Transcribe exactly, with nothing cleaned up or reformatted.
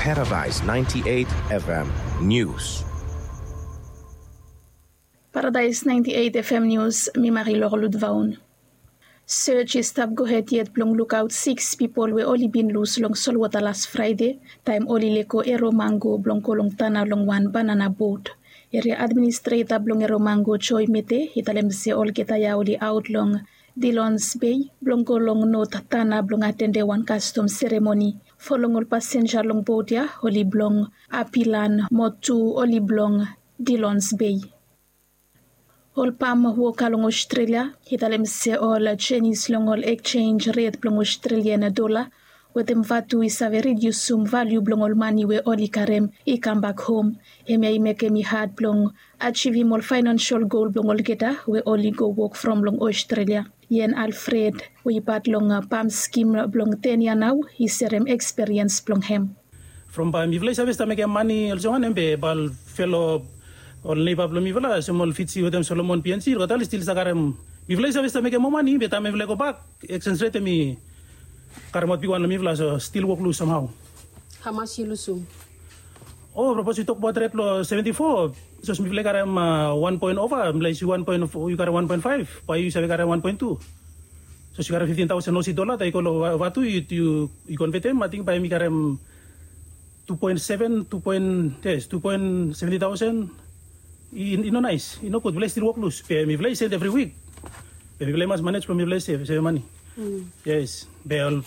Paradise ninety-eight F M News. Paradise ninety-eight F M News, mi Marilor Ludvaun. Search i stap gohed yet blong lukaut six pipol we oli bin lus long solwota las Fraede taem oli lego Eromango blong go long tana long wan banana bot. Eria administreta blong Eromango, Joy Mete, i talem se olgeta ya oli aot long Dilons Bei blong go long not tana blong atende wan kastom seremoni. Fo long ol pasenja long bot ya oli blong Apilan mo tu oli blong Dilons Bei. Ol pam woka long Australia i talem se ol jenis long ol exchange rate blong Australian dola wetem vatu i save ridiusum valiu blong ol mani we oli karem i kambak hom. Hemia i mekem i had blong ajivim ol faenansial gol blong olgeta we oli go wok from long Australia. Yen Alfred we i pat long pam skim blong ten ya nao i serem eksperiens blong hem. From bae mifala i save stap mekem mani olsem wanem be bae ol felo ol neiba blong mifala olsem ol Fiji wetem Solomon, P N G, olgeta oli stil stap karem. Mifala i save stap mekem moa mani be taem mifala i gobak eksenj ret hemi karemaot bigwan long mifala, so stil wok lus samhao. Hamas yu lusum? O, sapos yu tokbaot ret blong seventy four, sapos mifala i karem wan poen ova, mifala i si wan poen, yu karem wan poen faef, bae yu save karem wan poen tu. Sapos yu karem fiftin taosen Osi dola, taem yu go long vatu yu konvetem, ating bae mi karem tu poen seven, tu poen, yes, tu poen seventi taosen. I no naes, i nogud. Mifala i stil wok lus be mifala i sel evri wik. Be mifala i mas manej blong mifala i sev, sev mani. Yes, be ol